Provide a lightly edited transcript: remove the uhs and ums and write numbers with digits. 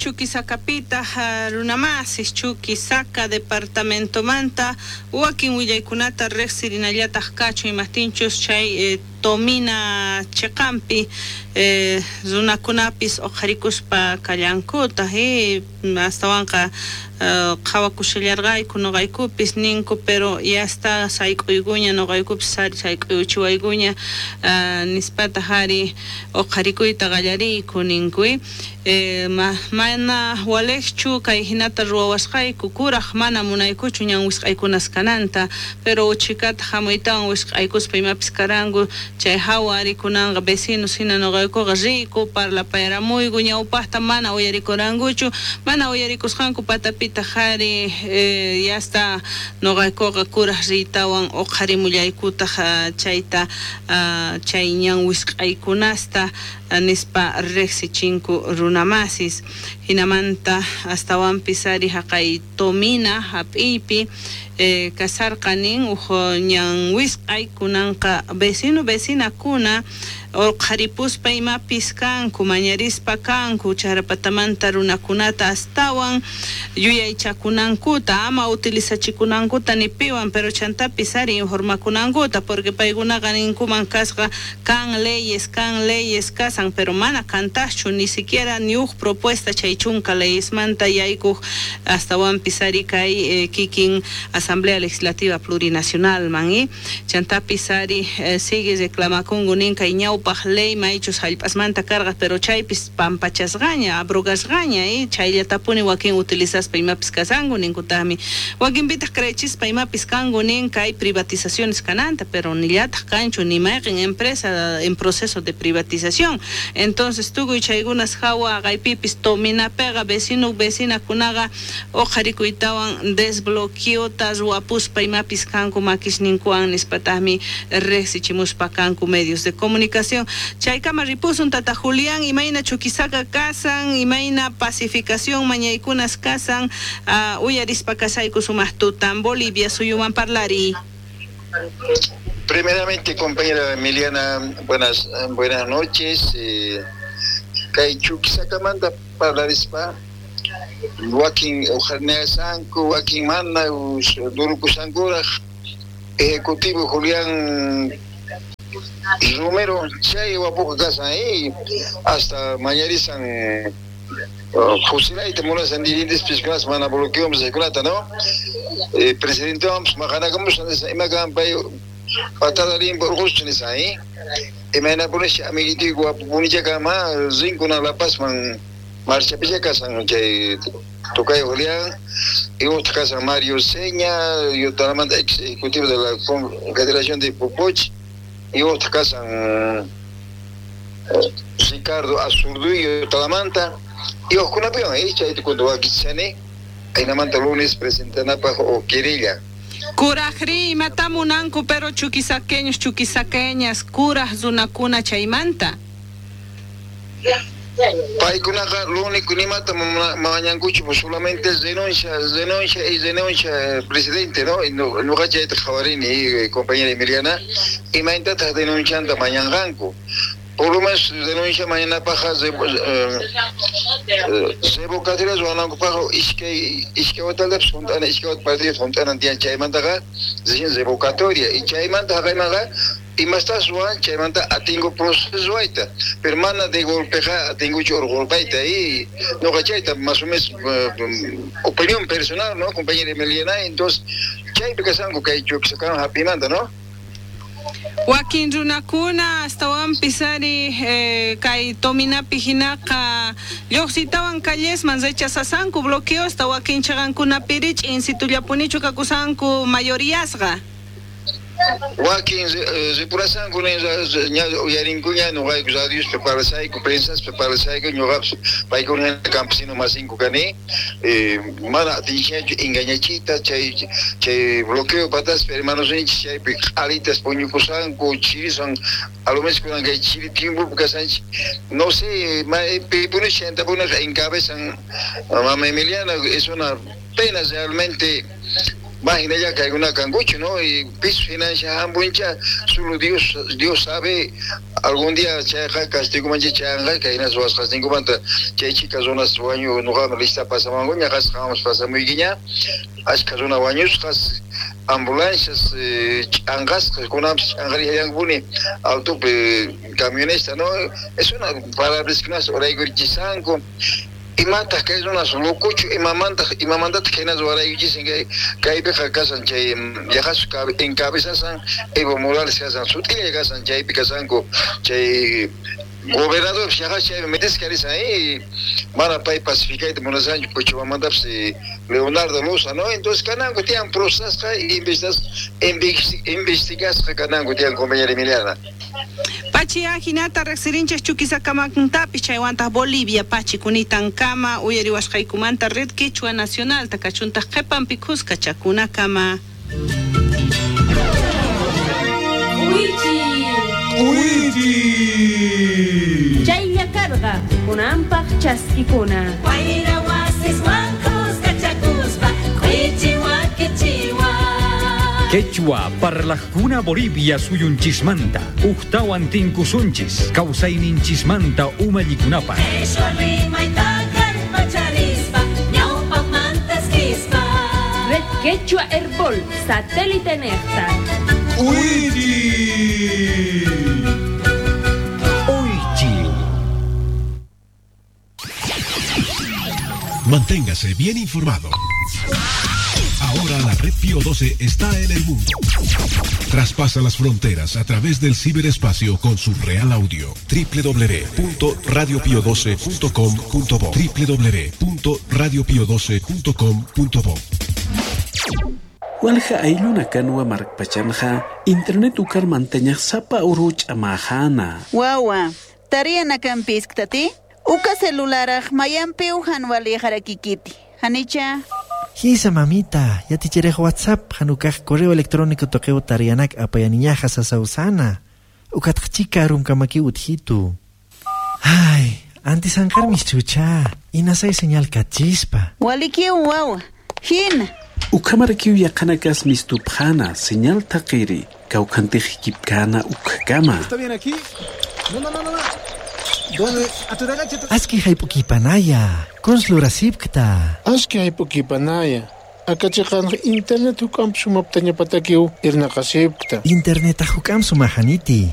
Chuquisacapitaj runamasis Chuquisaca departamentomanta wakin willaykunata rejsirinallataj kachun, imajtinchus chay Tomina cheqanpi runakunapis oqharikuspa kallankutaj, astawanqa qhawakushallarqayku noqaykupis ninku, pero ya está sayk'uykuña noqaykupis sayk'uyuchiwaykuña nispataj ari oqharikuyta qallariyku ninku. Mana walejchu kay hinata ruwawasqayku, kuraj mana munaykuchu ñan wisq'aykunas kananta, pero uchikata hamuytawan wisq'aykuspa imapis karanku, chay hawa ari kunanqa vecinos hina noqaykuqa riyku parlapayaramuyku, ñawpaqta mana uyarikurankuchu, mana uyarikusqanku patapitaq ari ya está noqaykuqa kuraj riytawan uqharimullaykutaq chayta chay ñan wisq'aykunasta nispa rejsichinku runamasis. Hinamanta astawanpis ari haqay Tomina hap'iypi kasarqa nin uj ñan wisq'ay kunanqa vecino vecinakuna uqharipuspa imapis kanku mañarispa kanku chaqrapatamanta runakunata astawan yuyaychakunankuta ama utilizachikunankuta ni piwan, pero chantapis ari informakunankuta, porque paykunaqa ninkuman kasqa kan leyes kasan, pero mana kantajchu ni siquiera ni uj propuesta chay chunka leyesmanta yaykuj astawanpis ari kay kikin Asamblea Legislativa Plurinacional man, chantapis ari sigue reclamakunku nin kay ñawpaj ley maychus hallp'asmanta karqa, pero chaypis pampachasqaña abrogasqaña, chayllatapuni wakin utilizaspa imapis kasanku ninkutaqmi, wakinpitaq creechispa imapis kanku nin kay privatizaciones kananta, pero nillataj kanchu ni mayqin empresa en proceso de privatización. Entonces tukuy chaykunas hawa haqaypipis Tominapiqa vecino vecinakunaqa uqharikuytawan desbloqueota ruwapuspa imapis kanku makisninkuwan nispataqmi rejsichimuspa kanku medios de comunicación. Chaykama ripusun tata Julián, imayna Chuquisaca kasan, imayna pacificación mañaykunas kasan, uyarispa kasayku sumaq tutan Bolivia suyuman parlariy. Primeramente, compañera Emiliana, buenas noches. Kay Chuquisacamanta parlarispa wakin uqharinasanku, wakin mana durukusankuraj ejecutivo Julián Romero chay wapuqa kasan hasta mañarisan fusilayta munasan dirigentes kunas mana bloqueamos chaykunata, ¿no? Presidente vamos maqanakamushan nisan ima kan pay patada limpa urquschu nisan, imaynapunisha amiguitiyku wapupunicha kama rinkuna La Pazman marchapicha kasan chay Tocayo Julián y otro kasan Mario Seña, Yotalamanta ex ejecutivo de la Confederación de Popoch, y otro kasan Ricardo Azurduy Yotalamanta, y ojkunapiwan chayta cuando wakichani aynamanta lunes presentanapaj o querella. Kurajri imata munanku pero chuquisaqueños chuquisaqueñas kuraj runakuna chaymanta. Paykunaqa lo único nimata mañankuchu solamente renuncia, renuncia y renuncia presidente, ¿no? Nuqa chayta qhawarini, compañera Emiliana, imaytataq denuncianta mañanqanku. Por lo menos denuncia mañanapaqa revocatoria ruwanankupaqqa iskay watalapis junt'ana, iskay wata partido junt'anan tiyan chaymantaqa recién revocatoria y chaymanta haqaymanqa imastas ruwan chaymanta atingu proceso ruwayta, pero mana de golpeqa atinguchu urqurpayta y nuqa chayta más o menos opinión personal, ¿no? Compañera Emiliana, entonces chaypi kasanku kay Chuquisacaman hap'imanta, ¿no? Wakin runakuna astawanpis ari kay Tominapi hinaqa lluqsitawan callesman rechazasanku bloqueosta wakin chaqankunapiri ch'insitullapunichu kakusanku mayoríasqa. Wakin ripurasanku ña uyarinkuña nuqayku radiospi parlasayku, prensaspi parlasayku, ñuqapis paykuna campesino masinku kani, mana atinchikñachu engañachiyta chay bloqueo pataspi hermanos ninchik chaypi q'alitas puñukusanku chirisan a lo menos kunan kay chiri tiempopi kasanchik, no sé, pipunish chaytapunaqa encabezan mama Emiliana, es una pena realmente. Más hinalla kaykuna kankuchu, ¿no? Y piso financia hambuncha, solo Dios sabe, algún día chayqa castigomancha chayanqa kayna ruwasqasninkumanta chay chika runas wañu nuqaman lista pasamankuña qasqamas pasamuykiña ashka runa wañusqas ambulancias ch'anqasqas kunanpis ch'anqarillankupuni altopi camionista, ¿no? Es una parabriskunas uraykurchisanku. Imataq kay runas locochu imamantataq kayna ruwaraykuchisan kaypiqa kasan chay yaqasu encabezasan Evo Morales kasan sut'illa kasan chaypi kasanku chay gobernador yaqas chaypi metisqa risan mana pay pacificayta munasanchu Cochabambantapis Leonardo Loza, ¿no? Entonces kananku tiyan procesasqa investigasqa kananku tiyan compañera Emiliana. Pachi ajinata riqsirinchik Chuquisacamantapi chaywantaq Bolivia pachi kunitankama uyariwasqaykumanta Red Quechua Nacional takachuntaq qhipanpi khuska chakunakama. Uichi. Uichi. Chaylla karqa kunanpaq chaskikuna. Wayra wasiswan khuska chakuspa k'uichi wakichiwa. Quechua parlajkuna Bolivia suyunchismanta uktawan tinkusunchis kawsayninchismanta umallikunapaq. Quechua rimayta kallpacharispa ñawpaqmantas kispa. Red Quechua Herbol satélite nejta. Uichi. Uichi. Manténgase bien informado. Ahora la red Pío 12 está en el mundo. Traspasa las fronteras a través del ciberespacio con su real audio. www.radiopio12.com.bo www.radiopio12.com.bo. Walja ayluna kanwa markpachanja internet ukar manteñaj sapa uruch amajana. Wawa, tariana kampisktati, uka celularaj mayampi ujan walijarakikiti. Hanicha. Hisa mamita, ya ticherej WhatsApp, hanukaj correo electrónico toqueo tarianak apayaniñaja sasausana. Ukatqchika rumkamaki utjitu. Ay, antes anjarmis chucha, inasay señal kachispa. Walikiu wawa, hina. Ukamarakiu yaqanakas mistupjana, señal taqiri, kawkantijikipkana ukkama. ¿Está bien aquí? No, no, no, no. ¿Dónde? Aski haypukipanaya, konslurasipkta. Aski haypukipanaya. Akachiqan internet hukam sumaptañapatakiw irnaqasipkta. Internet hukam sumajaniti.